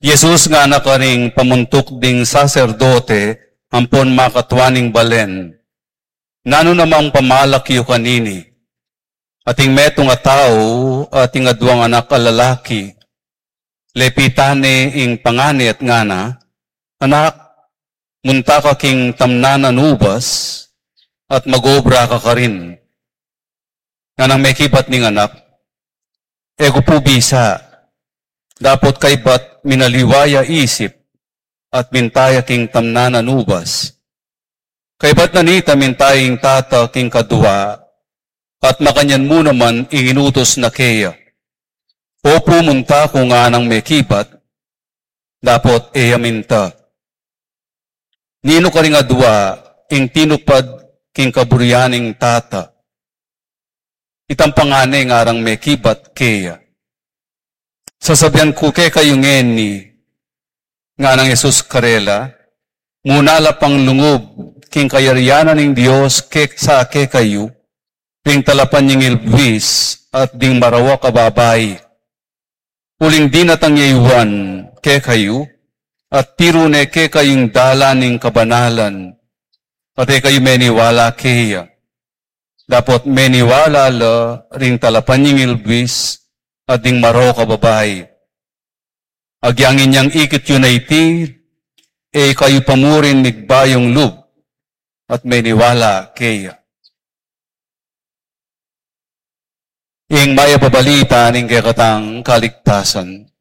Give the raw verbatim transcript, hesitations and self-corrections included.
Jesus ngana karing pamuntuk ding saserdote ampon makatua ning balen, "Nanu namang pamalak yu kanini?" Ating metung a tau, ating aduang anak a lalaki, lepitan ne ing pangan ne at ngana, "Anak, munta ka king tamnanan ubas at mag-obra ka karin." Nganang mekibat ning anak, "E ku pu bisa, dapot kaybat minaliwa ya isip at minta ya king tamnanan ubas." Kaybat na nita, minta ya ing tata king kadua, at makanyan mu naman ing inutus na keya. "Opu, munta ku," nganang mekibat, dapot e ya minta. Ninu karing adua ing tinupad king kaburian ning tata? Itang pangan ne, ngarang mekibat keya. "Sasabian ku kekayu ngeni," nganang Jesus karela, "muna la pang lungub king kayarian ning Dios kek-, sa kekayu, ring talapan ning ilbis at ding marawak a babai. Uling dinatang ya i Juan kekayu, at tiru ne kekayu ing dalan ning kabanalan, at e kayu meniwala keya. Dapot meniwala la ring talapan ning ilbis at ding marawak a babai. Agyang inyang ikit yu na iti, e kayu pa murin migbayung lub at meniwala keya." Ing mayap a balita ning kekatang kaligtasan.